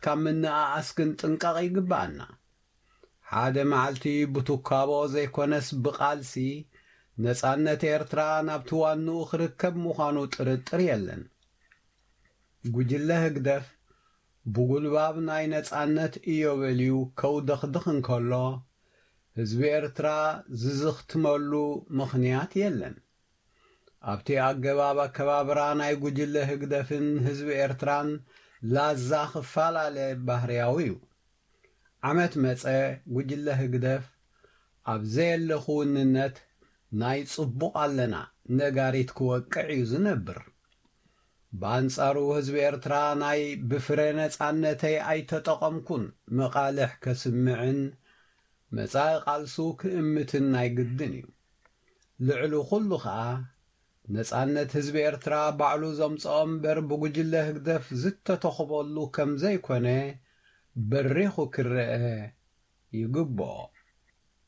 ካብ ምንኣኣስ ክንጥንቀቕ ይግብኣና። ሓደ መዓልቲ ብትካቦ ዘይኮነስ ብቓልሲ ነጻነት ኤርትራ ናብቲ ዋንኡ ክርከብ ምዃኑ ጥርጥር የለን። ጉጅለ ህግደፍ ብጉልባብ ናይ ነጻነት ኢዮቤልዩ ከውደኽድኽ እንከሎ፣ ህዝቢ ኤርትራ ዝዝኽትመሉ ምኽንያት የለን። ኣብቲ ኣገባብ ኣከባብራ ናይ ጉጅለ ህግደፍን ህዝቢ ኤርትራን ላዛ ክፈላለ ባህርያዊ እዩ። ዓመት መጸ፣ ጉጅለ ህግደፍ ኣብ ዘየለ ክውንነት ናይ ጽቡቕ ኣለና ነጋሪት ክወቅዕ እዩ ዝነብር። ብኣንጻሩ ህዝቢ ኤርትራ ናይ ብፍረ ነጻነተይ ኣይተጠቐምኩን መቓልሕ ከስምዕን መጻኢ ቃልሱ ክእምትን ናይ ግድን እዩ። ልዕሊ ኩሉ ኸኣ ነጻነት ህዝቢ ኤርትራ ባዕሉ ዘምጽኦ እምበር ብጉጅለ ህግደፍ ዝተተኽበሉ ከም ዘይኮነ በሪኹ ክረአ ይግብኦ።